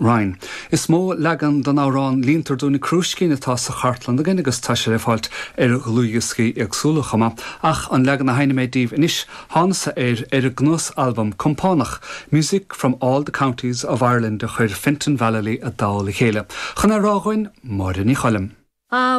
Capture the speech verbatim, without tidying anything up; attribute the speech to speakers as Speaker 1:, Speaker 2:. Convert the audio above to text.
Speaker 1: Ryan. Is mó leagan den amhrán Líontar Dúinn an Crúiscín atá sa chartlann againn agus tá sé le fáilt ar dhlúthdhioscaí éagsúla chomh maith, ach an leagan a sheinnfidh mé daoibh anois thánas air ar an gcnuasalbam compánach, Music from all the Counties of Ireland a chuir Fintan Vallely i dtoll a chéile. Chun é a rá dúinn Máire Ní Choilm.
Speaker 2: Ah,